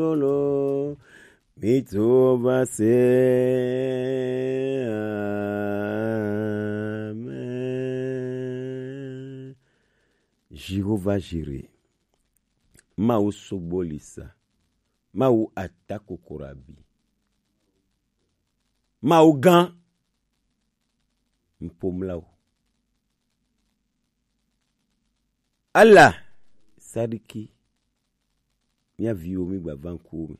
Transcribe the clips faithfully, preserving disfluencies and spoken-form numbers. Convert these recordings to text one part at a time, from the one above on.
Lolo, mi to va se. Amen. Jéhovah Jiré, Mawu sogbolisa, Mawu ata kokorabi, Mawu gã, mpomlawo. Allah, Sadiki, mía viwo mi gba va ŋkuwo me.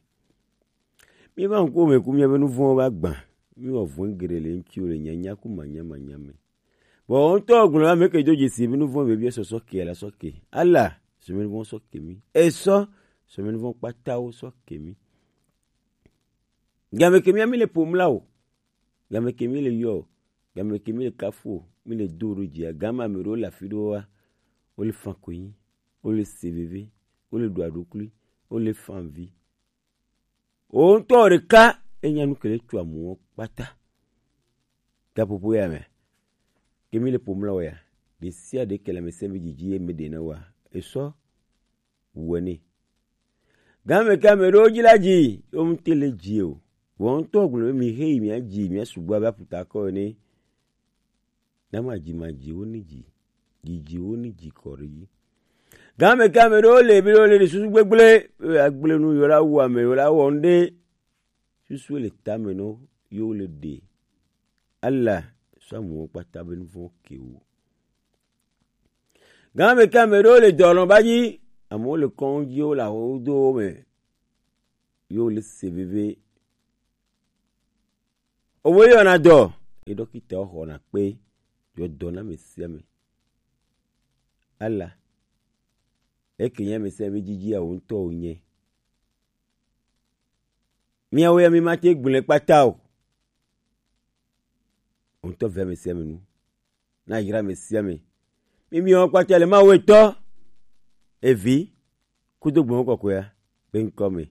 Mi va ŋkuwo me ku mía be nuvɔ̃wo va gbã. Mi wɔ vɔ̃ geɖe le ŋutiwo le nyanya ku manya manya me. Vɔ wo ŋutɔ gblɔ ame ke do dzesi be nuvɔ̃ be biɛ sɔsɔ ke la sɔ ke. Allah, sɔmɛ nuvɔ̃ sɔ ke mi. Esɔ, sɔmɛ nuvɔ̃ kpatawo sɔ ke mi. Game ke mía mi le ƒom la o. Game ke mi le yɔ o. Game ke mi le kafu o. Mi le do ɖo dzia. Game ame ɖewo le afi ɖewo wa. Wo le fa konyi. Wo le se veve. Wo le ɖu aɖukli. Wo le fa vi. Wo ŋutɔ ɖeka enya nu ke le tu amewo kpata. Gaƒoƒo ya me. Ke mi le ƒom la o ya. Ɖe sia ɖe ke le ame se mi dzidzi ye me ɖe na wa. Esɔ wɔ nɛ. Game ke ame ɖewo dzi la dzi, wo ŋute le dzi o. Vɔ ŋutɔ gblɔ be mi he yi mia dzi, mia sugbɔ abe aputa kɔ ene. Na ma dzi ma dzi wo ni dzi. Dzi dzi wo ni dzi kɔ ɖe dzi. Game ke ame ɖewo le bi ɖewo le ɖe susu gbegble, be agble nu yo la wu ame yo la wɔ ŋɖe. Susu le tame nɔ yo le ɖe. Allah sɔ amewo kpata be nuvɔ̃ ke wo. Game ke ame ɖewo le dɔlɔ̃ ba dzi, amewo le kɔŋdziwo le ahodowo me, yewo le se veve. Owo yɔna dɔ, ye ɖɔkitawo xɔna kpe, yɔ dɔ na ame sia ame. Allah, eke nye ame sia ame dzidzi awo ŋutɔ wonye. Miawo ya mi mate gblẽ kpata o. Wo ŋutɔ ve ame sia ame nu. Na yra ame sia ame. Mi mi wɔn kpata le Mawu etɔ, Evi, kudo Gbɔgbɔ Kɔkɔea be ŋkɔ me.